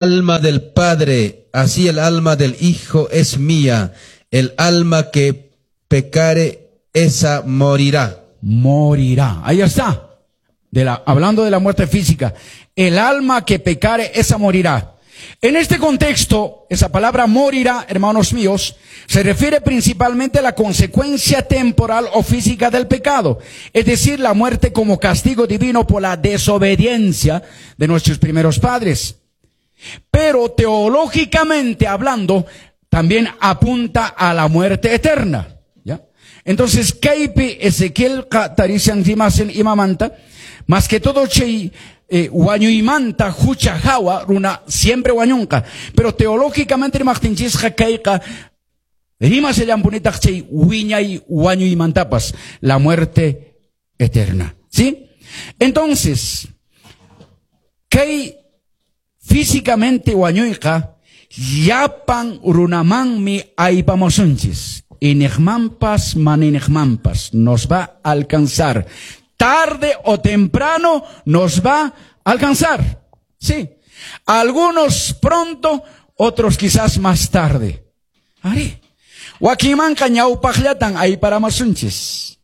Alma del Padre, así el alma del Hijo es mía. El alma que pecare, esa morirá. Morirá. Ahí está. Hablando de la muerte física. El alma que pecare, esa morirá. En este contexto, esa palabra morirá, hermanos míos, se refiere principalmente a la consecuencia temporal o física del pecado, es decir, la muerte como castigo divino por la desobediencia de nuestros primeros padres. Pero teológicamente hablando, también apunta a la muerte eterna. ¿Ya? Entonces, kaypi Ezequielqa tarishan rimashan imamanta, más que todo chay wañuymanta hucha hawa runa siempre wañunqa. Pero teológicamente rimaqtinchisqa kayqa rimashallanpunitaq chay wiñay wañuymantapas, la muerte eterna. ¿Sí? Entonces, kay físicamente wañuyqa llapan runamanmi aypamusunchis. Iñiqmanpas mana iñiqmanpas nos va a alcanzar. Tarde o temprano nos va a alcanzar. Sí. Algunos pronto, otros quizás más tarde. Arí. Wakinmanqa ñawpaqllatan ayparamasunchis.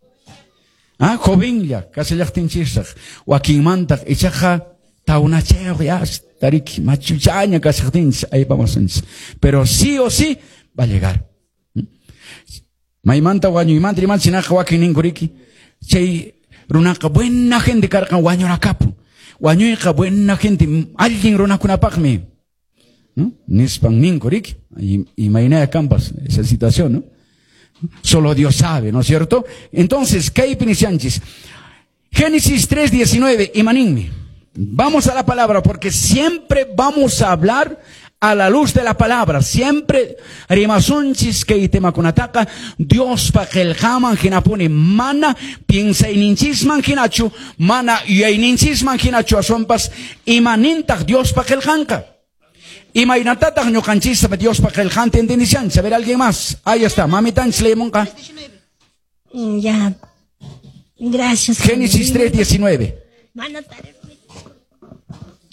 Ah, jovenlla, kasallaqtinchisraq. Wakinmantaq ichaqa tawnachayuq ya tariki machuchaña kashaqtinchis aypamasunchis. Pero sí o sí va a llegar. Maymanta wañuymanta rimanchis hinaqa wakin ninkuriki. Chay runaqa buena gente karqan wañurakapun. Wañuyqa buena gente, allin runakunapaqmi. ¿No? Nispan ninkuriki. Imaynaya kanpas esa situación, ¿no? Solo Dios sabe, ¿no es cierto? Entonces, kaypi nishanchis. Génesis 3:19, imaninmi. Vamos a la palabra porque siempre vamos a hablar a la luz de la palabra. Siempre rimasunchis kay temakunataqa Diospa qillqaman hinapuni mana piensayninchisman hinachu, mana yuyayninchisman hinachu aswanpas imanintaq Diospa qillqanqa. Imaynatataq ñuqanchista Diospa qillqanta entendishanchis. A ver, alguien más. Ahí está, mamitanchis leemunqa. Ya. Gracias. Génesis 3:19. Mana tarirunchu.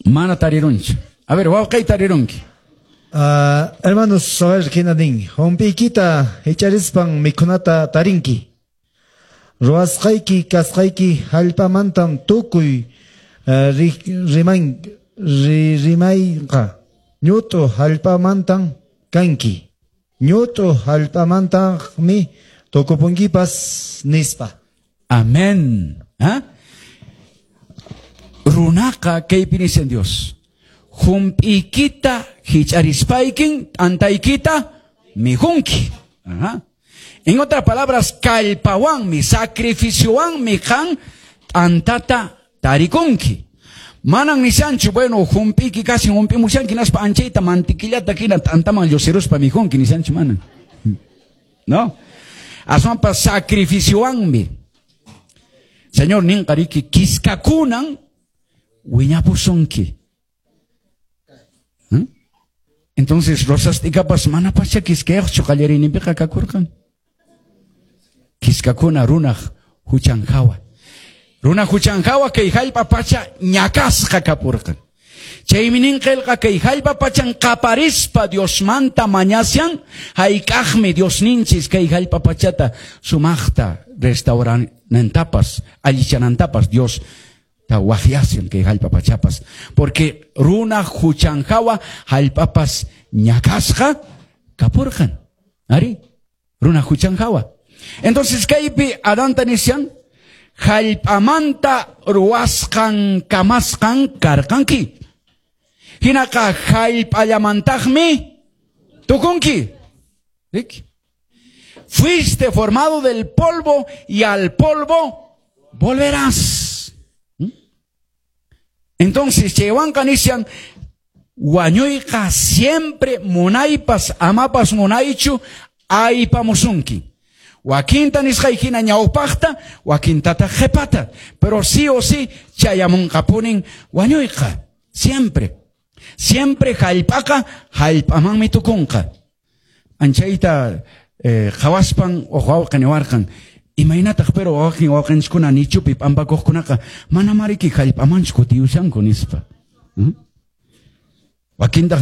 Mana tarirunchu. A ver, wawqay tarirunki. Hermanos, a ver, hina nin. Hump'iykita hich'arispan mikhunata tarinki. Ruwasqayki kasqayki hallp'amantam tukuy rimayqa. Ñut'u hallp'amantam kanki. Ñut'u hallp'amantaqmi tukupunkipas nispa. Amén. ¿Ah? Runaqa kaypi nishan Dios. Hump'iykita hich'arispaykin t'antaykita mikhunki. Ajá. En otras palabras, kallpawanmi, sacrificiowanmi qan t'antata tarikunki. Manan nishanchu, bueno, hump'iyki kashin hump'imushanki naspa anchayta mantequillata hina t'antaman llusiruspa mikhunki nishanchu manan. ¿No? Aswanpas sacrificiowanmi. Señor ninqariki kiskakunan wiñapusunki. ¿Eh? Entonces, rosas t'ikapas mana pacha kiskayuqchu qallariyninpiqa kakurqan. Kiskakuna runaq huchan hawa. Runa huchan hawa kay hallp'a pacha ñakasqa kapurqan. Chaymi nin qillqa kay hallp'a pachan qaparispa Diosmanta mañashan, hayk'aqmi Diosninchis kay hallp'a pachata sumaqta restauranantapas, allichanantapas Dios ta waqyashan kay hallp'a pachapas. Porque runa huchan hawa hallp'apas ñakasqa kapurqan. Ari, runa huchan hawa. Entonces kaypi Adanta nishan, hallp'amanta ruwasqan kamasqan karqanki. Hinaqa hallp'allamantaqmi tukunki. Rik? Fuiste formado del polvo y al polvo volverás. Entonces, chaywanqa nishan, wañuyqa siempre munaypas amapas munaychu aypamusunki. Wakinta nisqay hina ñawpaqta, wakintataq qhipata. Pero sí o sí chayamunqapunin wañuyqa. Siempre. Siempre hallp'aqa hallp'amanmi tukunqa. Anchayta qhawaspan uq wawqi niwarqan, imaynataq pero wawqin wawqinchiskuna nichupi p'ampakuqkunaqa mana mariki hallp'amanchu kutiyushanku nispa. Wakintaq